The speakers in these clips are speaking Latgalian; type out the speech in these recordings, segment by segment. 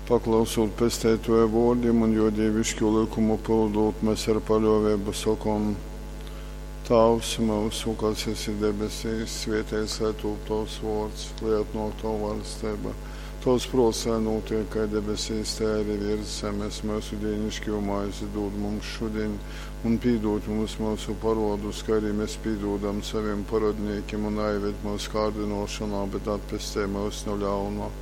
Paklausūt Pesteitōja vōrdim un jō dīviškū lykumu pyldūt, mes ar paļōveibu sokom: Tāvs myusu, kas esi debesīs, svēteits lai tūp tovs vōrds, lai atnōk tova vaļsteiba. Tovs prōts lai nūtiek kai debesīs, tai arī viers zemes. Myusu dīniškū maizi dūd mums šudiņ, un pīdūd mums myusu parōdus, kai arī mes pīdūdam savim parōdnīkim, un naīved myusu kārdynōšonā, bet atpestej myus nu ļauna.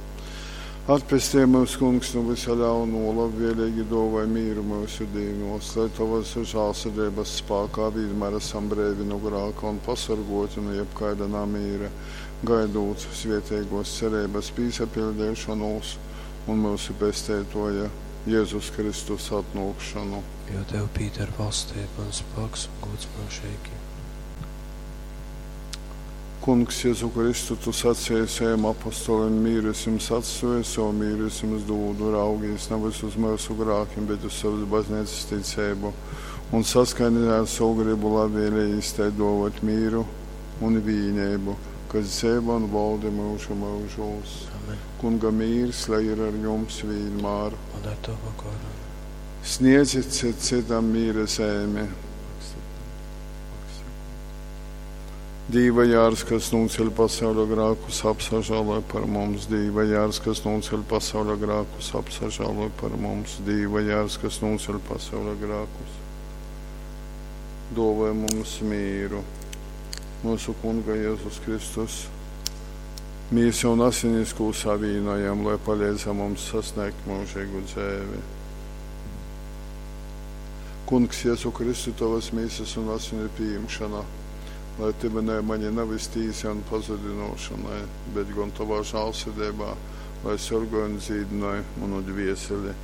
Atpestej myus, Kungs, nu vysa ļaunuo, labvēlīgi dōvoj mīru myusu dīnuos, lai Tovas žālsirdeibas spākā vīnmār asam breivi nu grāka un pasorgōti nu jebkaida namīra, gaidūt svēteigōs cereibas pīsapiļdeišonūs un myusu Pesteitōja Jezus Kristus atnōkšonu. Jo Tev pīdar valstība un spāks un gods myužīgi. Kungs, Jezu Kristu, Tu sacēji saviem apostolim, mīru es jums atstoju, savu mīru es jums dūdu, raugīs nevis uz myusu grākim, bet uz savas baznīcas ticību, un saskaņā ar savu gribu labvēlīgi tai dōvot mīru un vīneibu, kas dzeivo un valda myužu myužūs. Amen. Kunga mīrs, lai ir ar jums vienmēr. Un ar Tavu goru. Sniedzit cit citam mīra zeimi. Dīva jārs, kas nūceļ pasauļa grākus, apsažāloj par mums. Dīva jārs, kas nūceļ pasauļa grākus, apsažāloj par mums. Dīva jārs, kas nūceļ pasauļa grākus, dōvoj mums mīru. Mūsu Kunga Jēzus Kristus, mīsu un asinis, kū savīnojam, lai palīdz mums sasniegt mūžīgu dzēvi. Kungs, Jēzu Kristu, Tavas mīsas un asinu pieņemšana, lai tyvinai mani nevis tīsa un pazudinošanai, bet gan Tavā žālsirdībā, lai sorgoj un dzīdinoj manu dvieseli.